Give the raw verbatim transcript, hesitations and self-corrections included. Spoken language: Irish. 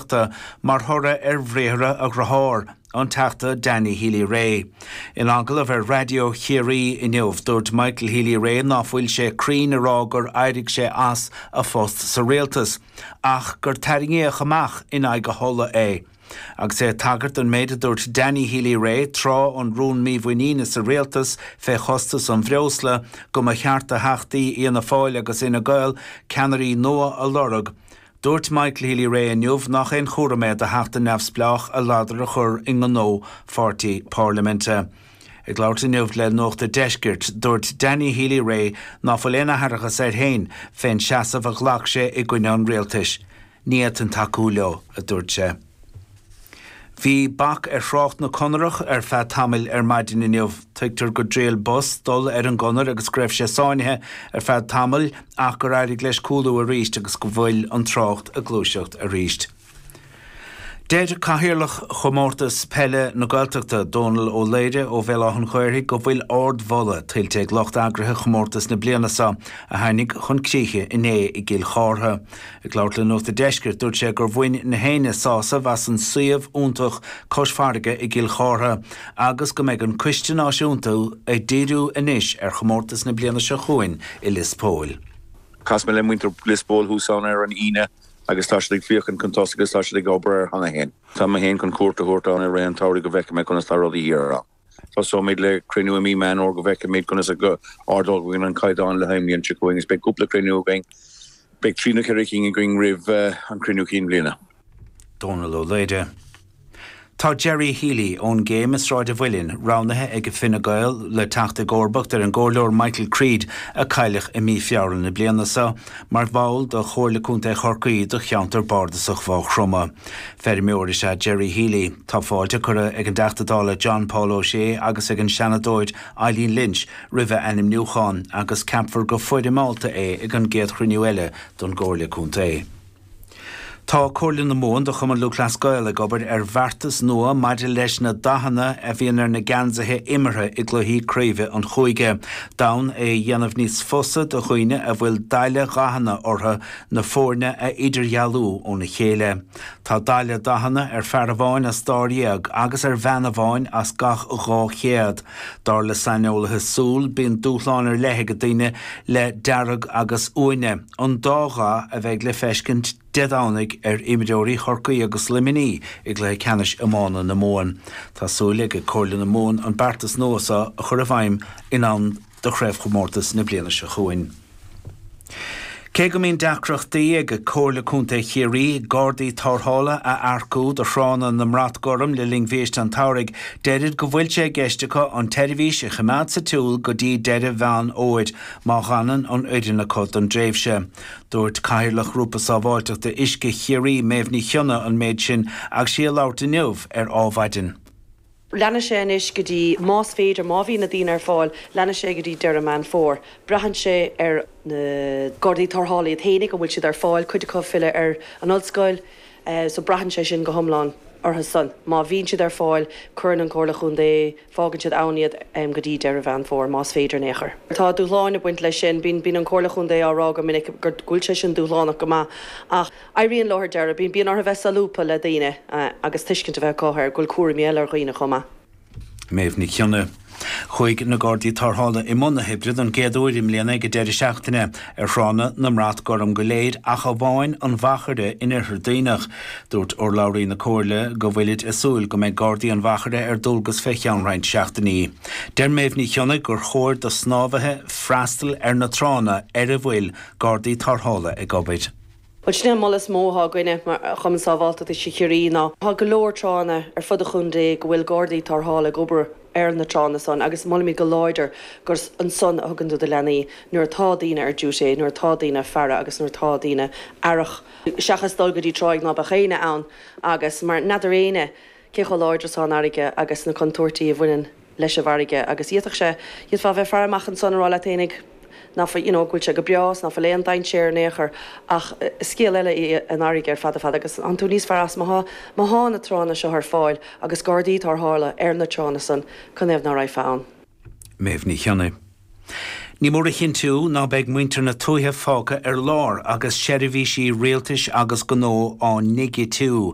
Aireachta mar thoradh ar bhriathra a dhearthár, an Teachta Danny Healy-Rae. In agallamh ar Raidió Chiarraí inniu, dúirt Michael Healy-Rae ná fuil sé cruinn a rá gur éirigh sé as a phost sa rialtas, ach gur tarraingíodh amach in aghaidh a thola é. Agus é ag tagairt don méid a dúirt Danny Healy-Rae tráth an rún mímhuiníne sa rialtas fé chostas an bhreosla go mba cheart do theachtaí Fhianna Fáil agus Fhine Gael ceannairí nua a lorg, dúirt Michael Healy-Rae inniu nach aon chúram é do theachta neamhspleách a ladar a chur i ngnó pháirtí parlaiminte. Ag labhairt inniu le Nuacht an Deiscirt, dúirt Danny Healy-Rae ná fuil aon aithreachas air féin fén seasamh a ghlac sé i gcoinne an rialtais. Ní fhéadfainn tacú leo, a dúirt sé. Bhí bac ar thrácht na conarach ar feadh tamaill ar maidin inniu. Tuigtear gur dhriail bus dul ar an gconair agus go raibh sé sáinnithe ar feadh tamaill ach gur éirigh leis cúlú arís agus go bhfuil an trácht ag gluaiseacht arís. Deir Cathaoirleach Chomórtas Peile na Gaeltachta, Dónal Ó Laoire ó Bhéal Átha an Ghaorthaidh go bhfuil ardmholadh tuillte ag lucht eagraithe chomórtas na bliana seo a tháinig chun críche inné i gCill Chártha. Ag labhairt le Nuacht an Deiscirt, dúirt sé gur bhain na héinne sásamh as an suíomh iontach cois farraige i gCill Chártha agus go mbeidh an Coiste Náisiúnta ag díriú anois ar chomórtas na bliana seo chugainn i Lios Póil. Chas mé le muintir Lios Póil thuas ann ar an Aoine agus tá siad ag féachaint chun tosaigh agus tá siad ag obair air cheana féin. Tá mé féin chun cuairt a thabhairt ann i rith an tsamhraidh go bhfeicfidh mé conas tá rudaí thiar ann. Tosóimid le cruinniú i mí Meán Fómhair go bhfeicfimid conas a ardóidh an caighdeán le haghaidh an bhliain seo chugainn agus beidh cúpla cruinniú againn. Beidh trí nó ceithre cinn againn roimh an cruinniú cinn bhliana. Dónal Ó Laoire. Tá Gerry Healy ón gCéim i Sráid an Mhuilinn roghnaithe ag Fine Gael le teacht i gcomharbacht ar an gcomhairleoir Michael Creed a cailleadh i mí Feabhra na bliana seo mar bhall de Chomhairle Contae Chorcaí do cheantar bardasach Mhaigh Chromtha. Feirmeoir is ea Gerry Healy. Tá fáilte curtha ag an dTeachta Dála John Paul O'Shea agus ag an Seanadóir Eileen Lynch roimh a ainmniúchán agus ceapfar go foirmeálta é ag an gcéad chruinniú eile don gComhairle Contae. Tá Comhairle na Mumhan do Chumann Lúthchleas Gael ag obair ar bheartas nua maidir leis na dathanna a bhíonn ar na geansaithe imeartha i gcluichí craoibhe an chúige. D'fhonn é a dhéanamh níos fusa do dhaoine a bhfuil daille dhathanna orthu na foirne a idirdhealú óna chéile. Tá daille dathanna ar fear amháin as dáréag agus ar bhean amháin as gach dhá chéad. Dar le saineolaithe súl bíonn dúshlán ar leith ag daoine le dearg agus uaine, an dá dhath a bheidh le feiscint Dé Domhnaigh ar imreoirí Chorcaí agus Luimnigh i gcluiche ceannais iomána na Mumhan. Tá súil ag Comhairle na Mumhan an beartas nua seo a chur i bhfeidhm in am do chraobhchomórtas na bliana seo chugainn. Cé go mbíonn deacrachtaí ag Comhairle Contae Chiarraí gardaí tarrthála a earcú do thránna na mBrat Gorm le linn bhiaiste an tsamhraidh, deirid go bhfuil sé i gceist acu an tseirbhís a choimeád sa tsiúl go dtí deireadh Mheán Fhómhair má fhanann an fhoireann acu don dtréimhse. Dúirt Cathaoirleach Ghrúpa Sábháilteachta Uisce Chiarraí Méabh Ní Chionnaith an méid sin agus sí ag labhairt inniu ar Adhmhaidin. Leanfaidh sé anois go dtí, más féidir, má bhíonn na daoine ar fáil, leanfaidh sé go dtí deireadh Meán Fómhair. Braitheann sé ar na Gardaí Tarrthála iad féinig, an bhfuil siad ar fáil, cuid acu ag filleadh ar an ollscoil, so braitheann sé sin go hiomlán orthu san. Má bhíonn siad ar fáil, cuireann an Chomhairle Chontae, fágann siad ann iad go dtí deireadh Mheán Fómhair, más féidir in aon chor. Tá dúshláin ag baint leis sin. Bíonn, bíonn an Chomhairle Chontae á rá go minic go bhfuil sé sin dúshlánach go maith ach éiríonn leo ar deireadh. Bíonn, bíonn orthu bheith solúbtha le daoine agus tuiscint a bheith acu ar go bhfuil cúraimí eile ar dhaoine chomh maith. Méabh Nic Cionnaith. Chuaigh na Gardaí Tarrthála i mbun na hoibre don gcéad uair i mbliana ag an deireadh seachtaine ar thránna na mBrat Gorm go léir ach amháin an Mhachaire in Oirthear Duibhneach. Dúirt urlabhraí na Comhairle go bhfuilid ag súil go mbeidh Gardaí an Mhachaire ar dualgas fé cheann roinnt seachtainí. Deir Méabh Ní Chionnaith gur chóir do shnámhaithe freastal ar na tránna ar a bhfuil Gardaí Tarrthála ag obair. Bhuel, sin é an moladh is mó atá againne mar Chumann Sábháilteachta Uisce Chiarraí ná tá go leor tránna ar fud an chontae go bhfuil Gardaí Tarrthála ag obair ar na tránna san agus molaimid go láidir gur ansan a thugann tú do leanaí nuair atá daoine ar duty, nuair atá daoine ag faire agus nuair atá daoine aireach seachas dul go dtí tráigh ná beadh éinne ann agus mar n'fheadar éinne cé chomh láidir is atá an fharraige agus na contúirtí a bhaineann leis an bhfarraige agus d'fhéadfadh sé, d'fhéadfá a bheith ag faire amach ansan a rá leat fhéinig nach bhfuil, you know, go bhfuil sé go breá is nach bhfuil aon dainséar in aon chor ach is scéal eile í an fharraige ar fad ar fad agus tá tú níos fearr as má thá, má thá na tránna seo ar fáil agus gardaí tarrthála ar na tránna san, canathaobh ná raghfá ann? Méabh Ní Chionnaith. Ní mór a chinntiú ná beidh muintir na tuaithe fágtha ar lár agus seirbhísí rialtais agus gnó á ndigitiú.